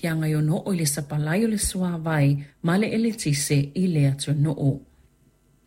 aafiaga e ono oo i le sapalai o le suavai ma le eletise i le atunuu.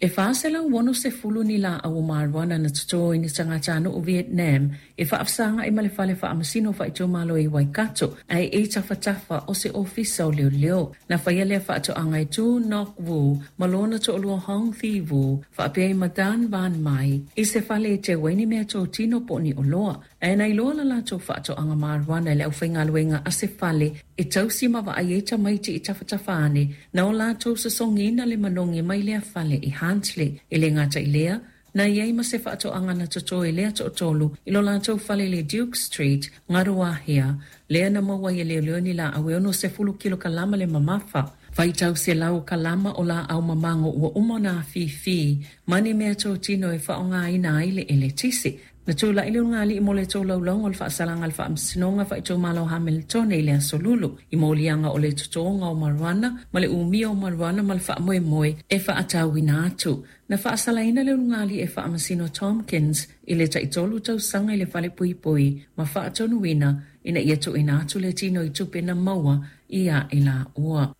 E 460 ni laau o marijuana na toto e ni tagatanuu Vietnam e faafesaga'i ma le Fale Faamasino Faaitumalo i Waikato, ae i tafatafa o se ofisa o leoleo. Na faia lea faatoaga e Tu Ngoc Vu ma lona toalua Hong Thi Vu faapea ai ma Dan Van Mai i se fale e teu ai ni meatotino po o ni oloa. Ae na iloa la latou faatoaga marijuana e le aufaigaluega a se fale e tausi ma vaai ai tamaiti i tafatafa ane, na o latou sosogiina le manogi mai lea fale i Huntly. E le gata i lea, na i ai ma se faatoaga na toto e lea toatolu i lo latou fale i le Duke Street, Ngaruawahia, lea na maua ai e leoleo ni laau e 60 kilokalama le mamafa. Faitau selau kalama o laau mamago ua uma ona afifi ma ni meatotino e faaaogaina ai le eletise. Na tulai le ulugalii mo le tolaulauga o le faasalaga a le Faamasinoga Faaitumalo Hamiltone i le Aso Lulu i moliaga o le totoga o marijuana ma le umia o marijuana ma le faamoemoe e faatauina atu. Na faasalaina le ulugalii e Faamasino Tomkins i le taitolu tausaga i le falepuipui ma faatonuina ina ia tuuina atu le tino i tupe na maua ia i laua.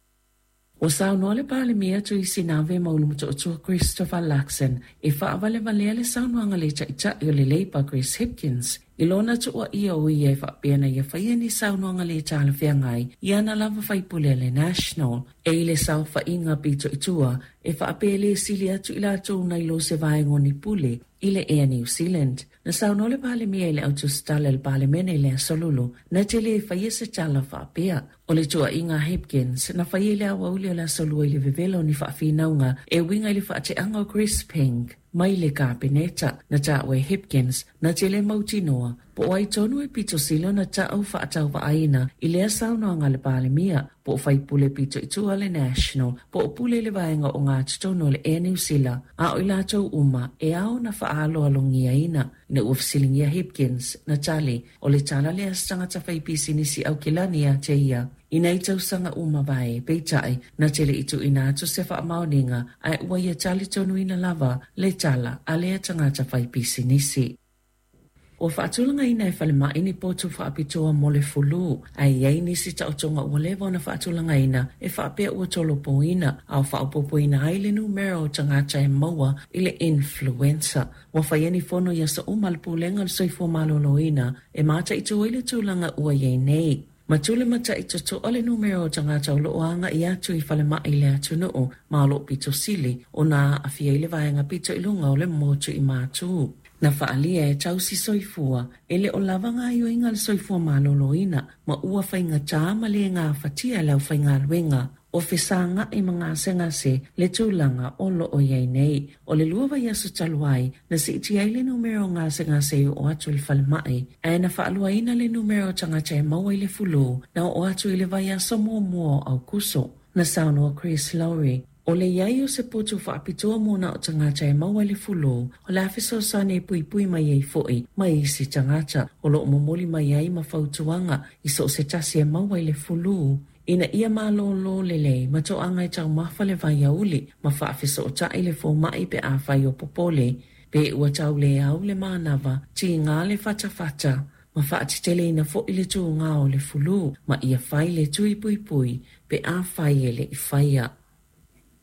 Ua saunoa le Palemia Tui Sinave ma Ulumotootua Christopher Luxon e faavalevalea le saunoaga a le Taitai o le Labour Chris Hipkins i lona tuuaia o ia e faapea na ia faia ni saunoaga le talafeagai i ana lava faipule a le National e i le saofaiga pito i tua e faapea e le sili atu i latou nai lo se vaega o ni pule i le Air New Zealand. Na saunoa le Palemia i le autusitala i le Palemene i le Aso Lulu, na te le faia se tala faapea. O le tuuaiga a Hipkins, na faia i le aoauli o le Aso Lua i le vevela o ni faafinauga e uiga i le faateaga o Chris Ping mai le Kapeneta. Na taua e Hipkins, na te le mautinoa po o ai tonu e pito sili ona ta'u faatauvaaina i lea saunoaga a le Palemia, po o faipule pito i tua le National, po o pule i le vaega o gatotonu o le Air New Zealand, a o i latou uma e ao ona faaaloalogiaina. Ina ua fesiligia Hipkins, na tali, O le tala lea a se tagata faipisinisi Aukilani ia te ia i nei tausaga ua mavae, peitai, na te le i tuuina atu se faamaoniga, ae ua ia talitonuina lava le tala a lea tagata faipisinisi. Ua faatulagaina e falemai ni potu faapitoa mo le fulu, ae i ai nisi taotoga ua leva ona faatulagaina e faapea ua tolopoina, a o faaopoopoina ai le numera o tagata e maua i le influenza. Ua faia ni fono i aso uma a le Pulega o le Soifua Maloloina e mataitu ai le tulaga ua i ai nei. Ma tulematai totoa le numera o tagata o lo o agai atu i falemai i le atunuu ma o lo o pito sili ona aafia ai le vaega pito i luga o le motu i Matu. Na faaalia e tausi soifua e le o lava gaoioiga a le soifua maloloina ma ua faigata ma le gafatia e le aufaigaluega o fesaga'i ma gasegase le tulaga o lo o i ai nei. O le lua vaiaso talu ai, na siitia ai le numera o gasegase e oo atu i le falemai, ae na faaluaina le numera o tagata e maua i le fulū na oo atu i le vaiaso muamua o Aokuso. Na saunoa Chris Lowry, O le i ai o se potu faapitoa mo na o tagata e maua i le fulū, o le a fesoasoani e puipui mai ai fo'i mai isi tagata o lo o momoli mai ai ma fautuaga i so o se tasi e maua i le fulū. Ina ia malōlō lelei ma toaga e taumafa le vaiauli ma faafesootai le fomaʻi pe afai o popole, pe ua tau le au le manava, tiga le fatafata, ma faateteleina foʻi le tugā o le fulū ma ia fai le tui puipui pe afai e le i faia.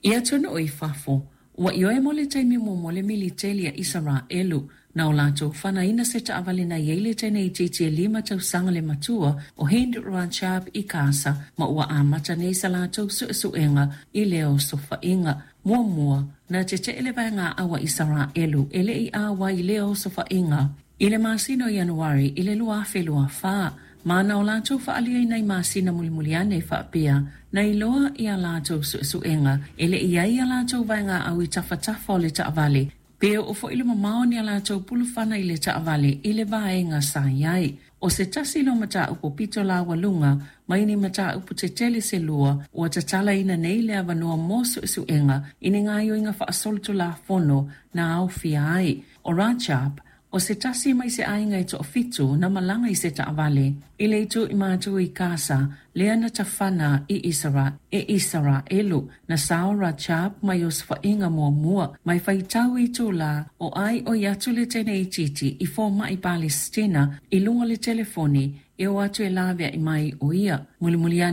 I atunuu i fafo, ua ioe mo le taimi muamua le militeli a Isaraelu na o latou fanaina se taavale na i ai le teine itiiti e lima tausaga le matua o Hind Rajab i Gaza ma ua amata nei sa latou suesuega i lea osofaiga. Muamua, na tetee le vaegaau a Isaraelu e le i auai i lea osofaiga. I le masina o Ianuari i le 2024, ma na o latou faaliaina i masina mulimuli ane faapea, na iloa i a latou suesuega e le i ai a latou vaegaau i tafatafa o le taavale, pe oo foi le mamao o ni a latou pulufana i le taavale i le vaega sa i ai. O se tasi lea o mataupu pito laualuga mai ni mataupu tetele se lua ua tatalaina nei le avanoa mo suesuega i ni gaoioiga faasolitulafono na aofia ai o Rajab, o se tasi mai se aiga e toafitu na malaga i se taavale i le itu i matu i Gaza, lea na tafana i Isara, e Isaraelu. Na sao Rajab mai osofaiga muamua mai faitau i itulā o ai oi atu le teine itiiti i fomaʻi Palesitina i luga o le telefoni e o atu e laveai mai o ia. Mulimuli ane,